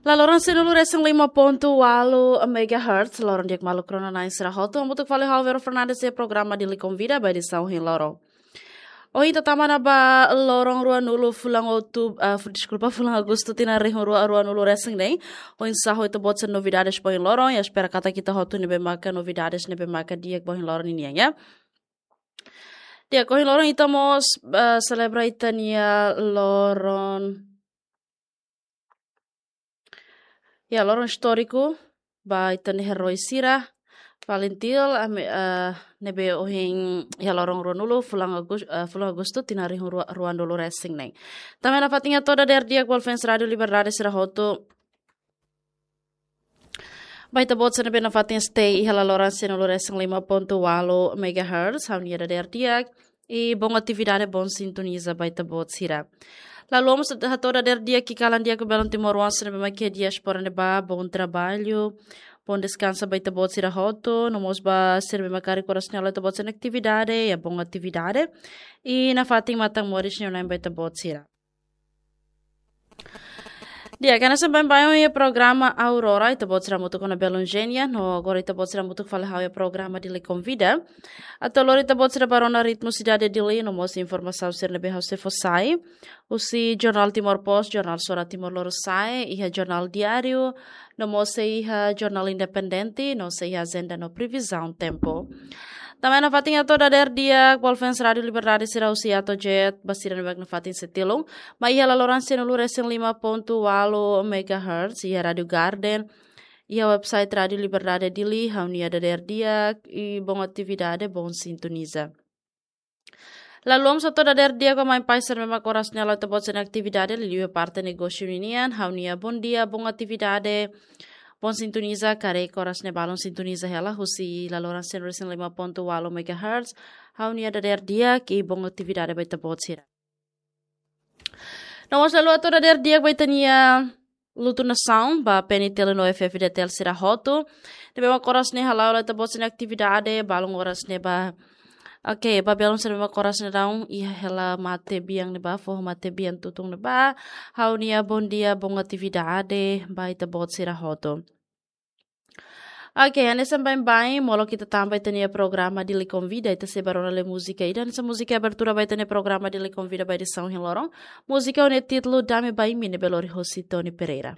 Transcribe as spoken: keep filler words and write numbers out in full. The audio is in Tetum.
La loron sanulu-resin-lima pontu ualu megahertz, loron di'ak maluk rona-na'in sira hotu, hamutuk fali ho Vero Fernandes iha programa Dili Konvida ba edisaun ohin loron. Ohin ita tama ona ba loron ruanulu fulan Outubru, ah, fu-, deskulpa, fulan Agostu tinan rihun rua ruanulu-resin-neen. Oinsá ho ita-boot sira novidades ba ohin loron, i espera katak ita hotu ne'ebé maka novidades ne'ebé maka di'ak ba ohin loron ninian, ya. Di'ak, ohin loron ita mós, ah, selebra ita-nia loron Ya, loron istóriku ba ita-nia eroi sira, FALINTIL, ami, eh, ne'ebé ohin iha loron ruanulu, fulan Agus-, eh, fulan Agostu, tinan rihun rua, ruanulu-resin-neen. Tanba nafatin hato'o dadeer di'ak ba fans Rádio Liberdade sira hotu. Ba ita-boot sira ne'ebé nafatin stay iha la loron sanulu-resin-lima pontu ualu megahertz, ha'u-nia dadeer di'ak. I bom atividade, bom sintoniza ba ita-boot sira. Lalu, mós hato'o dadeer di'ak, i kalan di'ak ba belun timoroan sira ne'ebé mak iha diáspora ne'ebá, bom trabalho, bom descanso ba ita-boot sira hotu, no mós ba sira ne'ebé mak karik oras ne'e halo ita-boot sira-nia atividade, ya, bom atividade. I nafatin matan moris neu nain ba ita-boot sira. Di'ak, hanesan baibain iha programa Aurora, ita-boot sira hamutuk ho belun Genia, no agora ita-boot sira hamutuk fali ho iha programa Dili Konvida. Atu lori ita-boot sira ba rona ritmu sidade Dili, no mós informasaun sira ne'ebé ha'u sei fó sai. Husi Jornál Timor Post, Jornál Sora Timor Lorosa'e, iha Jornál Diáriu, no mós sei iha Jornál Independente, no sei iha ajenda no previzaun tempu. Tanba nafatin hato'o dadeer di'ak ba fans Rádio Liberdade sira husi Atojet, ba sira ne'ebé mak nafatin sei tilun. Mai iha la loron sanulu-resin-lima pontu ualu megahertz, iha Rádio Garden, iha website Rádio Liberdade Dili, ha'u-nia dadeer di'ak, i bom atividade, bom sintoniza. Lalu, mós hato'o dadeer di'ak ba mãe pai sira ne'ebé mak oras ne'e halo ita-boot sira-nia atividade, liuliu parte negósiu ninian, ha'u-nia bom dia, bom atividade, bom sintoniza, karik oras ne'e balun sintoniza hela, husi la loron sanulu-resin-lima pontu ualu megahertz, ha'u-nia dadeer di'ak, i bom atividade ba ita-boot sira. No mós lalu hato'o dadeer di'ak ba ita-nia Lutu Nasaun, ba PNTL no F-FDTL sira hotu. Ne'ebé mak oras ne'e hala'o hela ita-boot sira-nia atividade, balun oras ne'e ba. Oke, ba belun sira ne'ebé mak oras ne'e daudaun iha hela matebian ne'ebá, foho matebian tutun ne'ebá. Ha'u-nia bom dia, bom atividade ba ita-boot sira hotu. Oke, hanesan baibain, molok ita tama ba ita-nia programa Dili Konvida, ita sei ba rona lee múzika ida, hanesan múzika abertura ba ita-nia programa Dili Konvida ba edisaun ohin loron. Múzika ho nia títulu Dame Ba Imi ne'ebé lori hosi Tony Pereira.